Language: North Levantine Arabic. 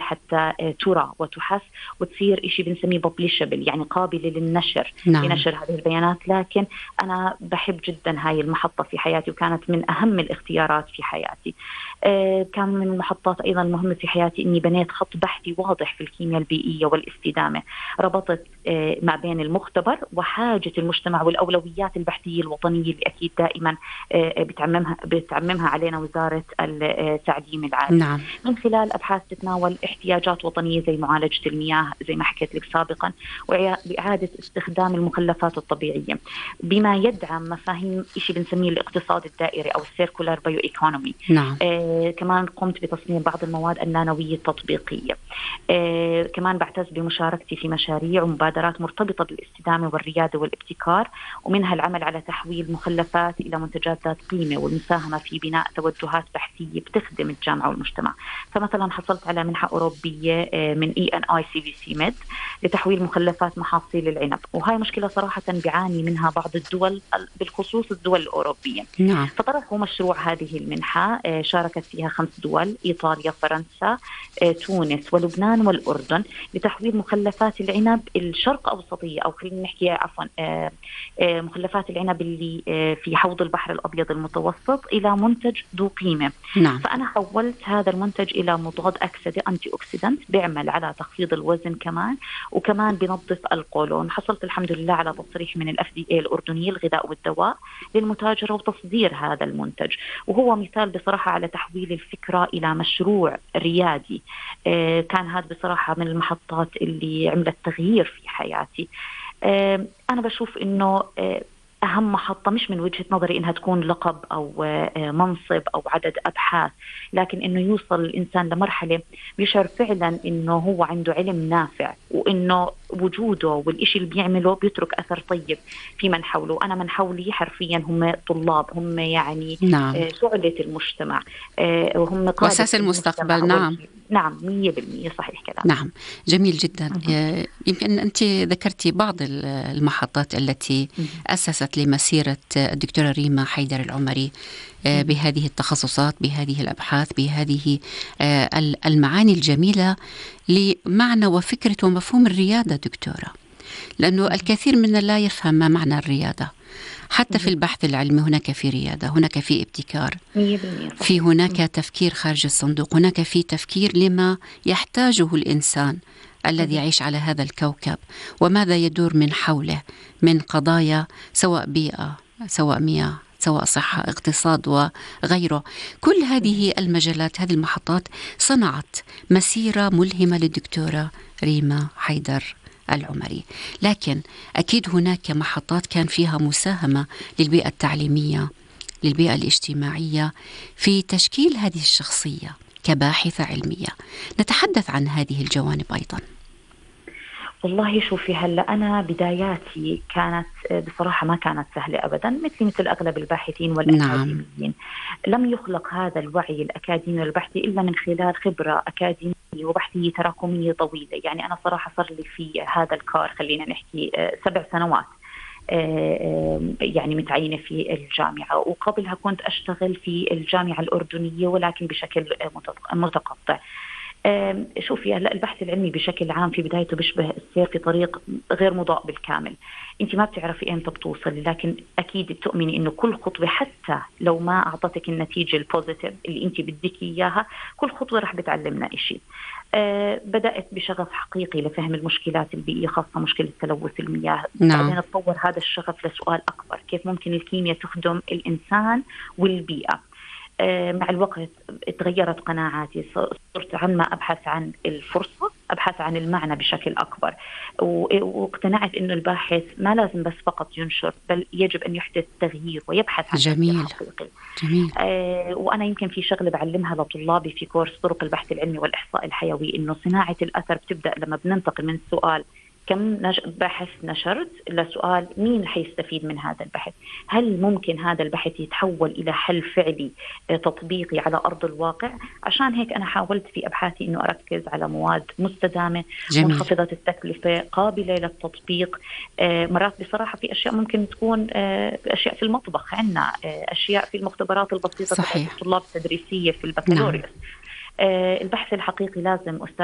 حتى ترى وتحس وتصير إشي بنسميه publishable، يعني قابلة للنشر. نعم. لنشر هذه البيانات. لكن أنا بحب جدا هاي المحطة في حياتي، وكانت من أهم الاختيارات في حياتي. كان من المحطات أيضا المهمة في حياتي إني بنيت خط بحثي واضح في الكيمياء البيئية والاستدامة، ربطت ما بين المختبر وحاجة المجتمع والأولويات البحثية الوطنية اللي أكيد دائما بتعممها علينا وزارة التعليم العالي. نعم. من خلال أبحاث تتناول احتياجات وطنية زي معالجة المياه زي ما حكيت لك سابقا، وإعادة استخدام المخلفات الطبيعية، بما يدعم مفاهيم إشي بنسميه الاقتصاد الدائري أو السيركولار بايو إيكونومي. نعم. كمان قمت بتصميم بعض المواد النانوية التطبيقية. كمان بعتز بمشاركتي في مشاريع ومبادرات مرتبطة بالاستدامة والريادة والابتكار، ومنها العمل على تحويل مخلفات إلى منتجات ذات قيمة والمساهمة في بناء توجهات بحثية بتخدم الجامعة والمجتمع. فمثلا حصلت على منحة أوروبية من ENICVC Med لتحويل مخلفات محاصيل العنب، وهاي مشكلة صراحة بيعاني منها بعض الدول بالخصوص الدول الأوروبية. نعم. فطرحوا مشروع هذه المنحة، شاركت فيها 5 دول: إيطاليا، فرنسا، تونس ولبنان والأردن، لتحويل مخلفات العنب الشرق أوسطية، أو خلينا نحكي عفوا مخلفات العنب اللي في حوض البحر الأبيض المتوسط إلى منتج ذو قيمة. نعم. فأنا حولت هذا المنتج إلى مضاد أكسدة أنتي أوكسيدانت بيعمل على تخفيض الوزن كمان، وكمان بنظف القولون. حصلت الحمد لله على تصريح من الFDA الأردنية الغذاء والدواء للمتاجرة وتصدير هذا المنتج، وهو مثال بصراحة على تحويل الفكرة إلى مشروع ريادي. كان هذا بصراحة من المحطات اللي عملت تغيير في حياتي. أنا بشوف إنه أهم محطة مش من وجهة نظري إنها تكون لقب أو منصب أو عدد أبحاث، لكن إنه يوصل الإنسان لمرحلة بيشعر فعلا إنه هو عنده علم نافع، وإنه وجوده والإشي اللي بيعمله بيترك أثر طيب في من حوله. أنا من حولي حرفيا هم طلاب، هم يعني نعم. شعلة المجتمع، وهم قادة وأساس المستقبل. نعم. نعم 100% صحيح كلام. نعم، جميل جدا. يمكن أنت ذكرتي بعض المحطات التي أسست لمسيرة الدكتورة ريما حيدر العمري بهذه التخصصات، بهذه الأبحاث، بهذه المعاني الجميلة لمعنى وفكرة ومفهوم الريادة دكتورة، لأنه الكثير منا لا يفهم ما معنى الريادة. حتى في البحث العلمي هناك في ريادة، هناك في ابتكار، في هناك تفكير خارج الصندوق، هناك في تفكير لما يحتاجه الإنسان الذي يعيش على هذا الكوكب وماذا يدور من حوله من قضايا، سواء بيئة، سواء مياه، سواء صحة، اقتصاد وغيره. كل هذه المجالات، هذه المحطات صنعت مسيرة ملهمة للدكتورة ريما حيدر العمري. لكن أكيد هناك محطات كان فيها مساهمة للبيئة التعليمية، للبيئة الاجتماعية في تشكيل هذه الشخصية كباحثة علمية. نتحدث عن هذه الجوانب أيضا. والله شوفي، هلا أنا بداياتي كانت بصراحة ما كانت سهلة أبدا، مثل أغلب الباحثين والأكاديميين. نعم. لم يخلق هذا الوعي الأكاديمي والبحثي إلا من خلال خبرة أكاديمية وبحثية تراكمية طويلة. يعني أنا صراحة صار لي في هذا الكار خلينا نحكي 7 سنوات يعني متعينة في الجامعة، وقبلها كنت أشتغل في الجامعة الأردنية ولكن بشكل متقطع. شوفي هلا البحث العلمي بشكل عام في بدايته بيشبه السير في طريق غير مضاء بالكامل. انت ما بتعرفي امتى بتوصلي، لكن اكيد بتؤمني انه كل خطوه حتى لو ما اعطتك النتيجه البوزيتيف اللي انت بدك اياها، كل خطوه رح بتعلمنا إشي. بدأت بشغف حقيقي لفهم المشكلات البيئية، خاصة مشكلة تلوث المياه. نعم. بعدين تطور هذا الشغف لسؤال أكبر: كيف ممكن الكيمياء تخدم الإنسان والبيئة؟ مع الوقت تغيرت قناعاتي، صرت عما أبحث عن الفرصة، أبحث عن المعنى بشكل أكبر، واقتنعت إنه الباحث ما لازم بس فقط ينشر، بل يجب أن يحدث تغيير ويبحث عن جميل. حقيقي. جميل. وأنا يمكن في شغلة بعلمها لطلابي في كورس طرق البحث العلمي والإحصاء الحيوي، إنه صناعة الأثر بتبدأ لما بننتقل من السؤال كم بحث نشرت لسؤال مين حيستفيد من هذا البحث؟ هل ممكن هذا البحث يتحول إلى حل فعلي تطبيقي على أرض الواقع؟ عشان هيك أنا حاولت في أبحاثي إنه أركز على مواد مستدامة، جميل. منخفضة التكلفة، قابلة للتطبيق. مرات بصراحة في أشياء ممكن تكون أشياء في المطبخ عنا، أشياء في المختبرات البسيطة تبع الطلاب التدريسية في البكالوريوس. البحث الحقيقي لازم أستاذ